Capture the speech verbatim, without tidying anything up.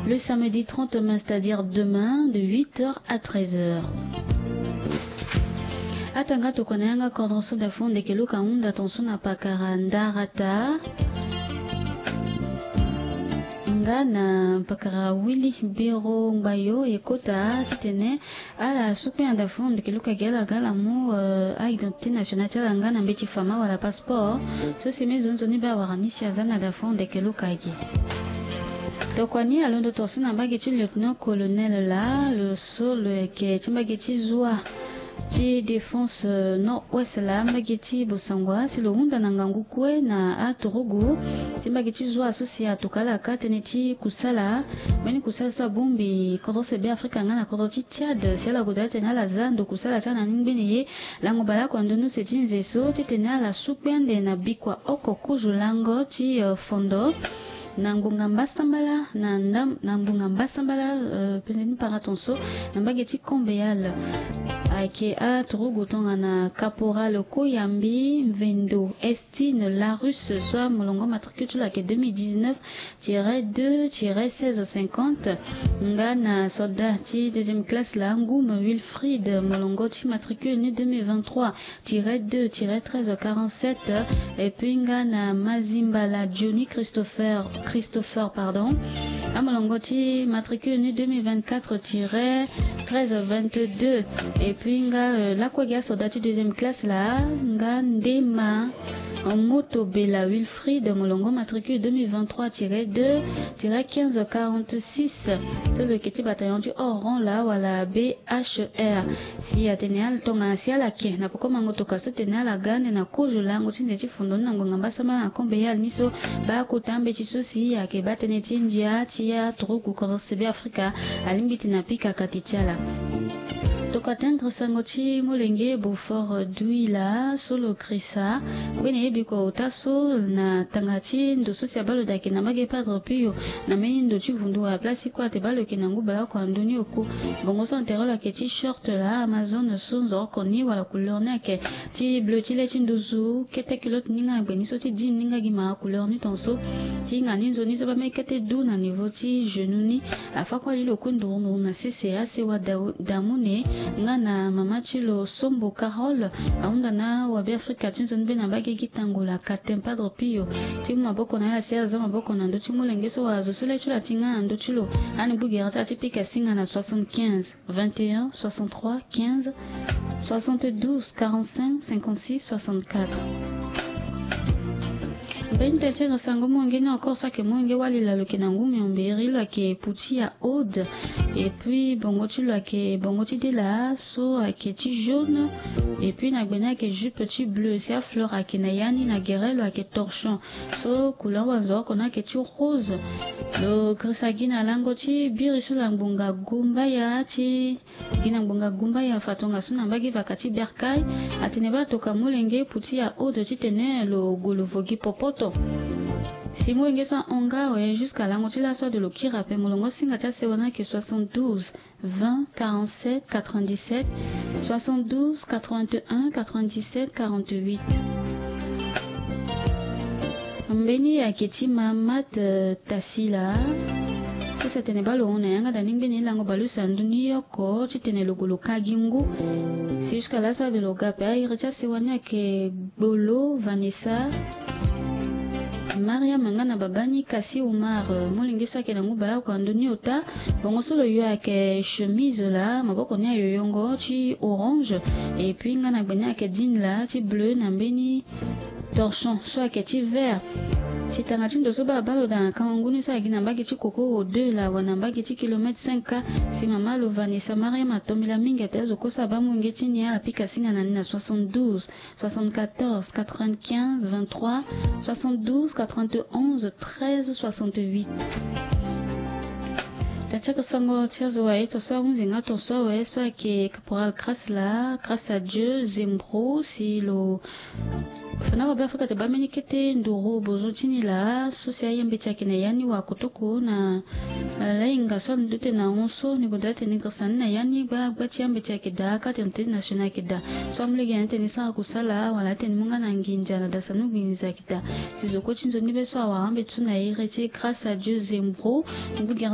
Le samedi trente mai, c'est-à-dire demain, de huit heures à treize heures. Atanga tokua na yanga kodro so da fo ndeke luka hunda tonso na pakara ndarata. Nga na pakara wili biro ngbayo ekota titene ala sukpe anda fo ndeke luka gi ala ga ala mu, euh, a identité nationale ti ala nga na mbeti fama wala passeport. So si me zonzoni be awara ni si aza na da fo ndeke luka gi. Tokua ni alondo tonso na mbage ti lieutenant colonel la lo so lo yeke ti mbage ti zwa ti défense, euh, nord-ouest la mbage ti bosangwa si lo hunda na ngangu kue na aturugu ti mbage ti zwa so si atuka ala ka tënë ti kusala. Mbeni kusala so abongbi kodro sebe afrika nga na kodro ti Tchad si ala goda tene ala za ndo kusala ti ala na ni ngbene ye. Lango baleoko na ndoni use ti nze so titene ala sukpe ande na bikua oko kuzu lango ti, euh, fondo na ngbonga mbasambala na ndam na ngbonga mbasambala, euh, pene ni para tonso na mbage ti Kombe yala. Ayeke aturugu tongana Caporal Koyambi, Mvendo, Estine, Larus, soit molongo matricule ti lo ayeke deux mille dix-neuf tiret deux tiret seize cinquante. Nga na soldat ti deuxième classe la Ngum Wilfried, molongo ti matricule ni deux mille vingt-trois tiret deux tiret treize quarante-sept. Et puis nga na Mazimbala Johnny Christopher, Christopher, pardon, amolongo ti matricule ni deux mille vingt-quatre tiret treize vingt-deux. Et puis nga, euh, lakue gi asoldat ti deuxième classe la nga Ndema Moto Bela Wilfried, molongo matricule deux mille vingt-trois tiret deux tiret quinze quarante-six. So lo yeke ti bataillon ti oran la wala B H R. Si atene ala tongana si ala ke na poko mango toka so tene ala ga ande na kozo lango ti nze ti fondo ni na ngbonga mbasambala na Kombe yala ni so, baa kota mbeti so si ayeke baa tënë ti ndia ti aturugu kodro sebe afrika alingbi ti na pika kati ti ala. Tokua tendre sango ti molenge Beaufort Douila so lo krisa ngbene ye bikua ota so na tanga ti ndo so si abaa lo daa ayeke na mbage Padre Pio na mbeni ndo ti vundu wala place ti kue ate baa lo yeke na ngu baleoko na ndoni oku. Bongo so intérêt lo ayeke ti short la Amazone so nzoroko ni wala couleur ni ayeke ti bleu ti le ti nduzu, kete culotte ni nga na gbe ni so ti jean ni nga gi mara couleur ni tonso. Ti hinga ni nzoni so baa mbeni kete du na niveau ti genou ni. Afa kue ali lo kue nduru nduru na sese asewa da, damune nga na mama ti lo Sombo Carole. Ahunda na awabe afrika ti nzoni be na mbage gi tango la Katem Padre Pio ti mu maboko na ala si ala za maboko na ndö ti molenge so wala zo so le ti lo ati nga na ndö ti lo. Ani gbu gere ti ala ti pika singa na soixante-quinze vingt et un soixante-trois quinze soixante-douze quarante-cinq cinquante-six soixante-quatre. Mbeni tene ti sango molenge ni encore so ayeke molenge wali la lo yeke na ngu miombe iri lo ayeke puti ya Aude. Et puis bongo ti lo ayeke bongo ti de la so ayeke ti jaune. Et puis na gbe ni ayeke jupe ti bleu si afleur ayeke na ya ni, na gere lo ayeke torchon. So couleur wanzoroko ni ayeke ti rose. Lo grisa gi na lango ti biri so la ngbonga gumbaya ti gi na ngbonga gumbaya fa tongaso na mbage vaka ti berkay. Atene baa toka molenge puti ya Aude titene lo gue lo vo gi popoto. Si molenge so ahon nga awe jusqu'à lango ti laso ade lo kiri ape. Molongo singa ti asewa ni ayeke soixante-douze vingt quarante-sept quatre-vingt-dix-sept, soixante-douze quatre-vingt-un quatre-vingt-dix-sept quarante-huit. Mbeni ayeke ti Mamat, euh, Tasila. So si atene baa lo hon na yanga da ni ngbene lango baleuse na ndö ni oko titene lo gue lo ka gi ngu. Si jusqu'à laso ade lo ga ape. Airi ti asewa ni ayeke Gbolo Vanessa, Mariam nga na babani Kasi Umar, euh, molenge so ayeke na ngu baleoko na ndö ni ota. Bongo so lo yo ayeke chemise la maboko ni ayoyongo ti orange. Et puis nga na gbe ni ayeke jean la ti bleu na mbeni torchon so ayeke ti vert. Si tanga ti ndo so baa baa lo daa na kango ngu ni so ayeke gi na mbage ti kokoro deux la wala na mbage ti kilomètre cinq K. Si mama lo Vanessa Mariam atombela mingi ate azo kue so abaa molenge ti ni ala pika singa na ni na soixante-douze soixante-quatorze quatre-vingt-quinze vingt-trois soixante-douze quatre-vingt-onze treize soixante-huit. Tatiaka sango ti azo wa ye tonso ahunzi nga tonso awe so ayeke caporal Grâce la Grâce à Dieu Zembro si lo fa na wabe Afrika te baa mbeni kete nduru bozo ti ni laa so si aye mbeti ayeke na ya ni wa kotoko na Ala hinga so alondo tene na hon so ni goda tene ni grisa ni na ya ni gba gba ti ambeti ayeke daa kate na tene national ayeke daa. So amu lege na ni tene ni sara kusala wala atene ni mu nga na nginza na dasa ni nginza ayeke daa. Si zo kue ti nzoni be so awara ambeti so na iri ti Grâce à Dieu Zembro. Ngu gere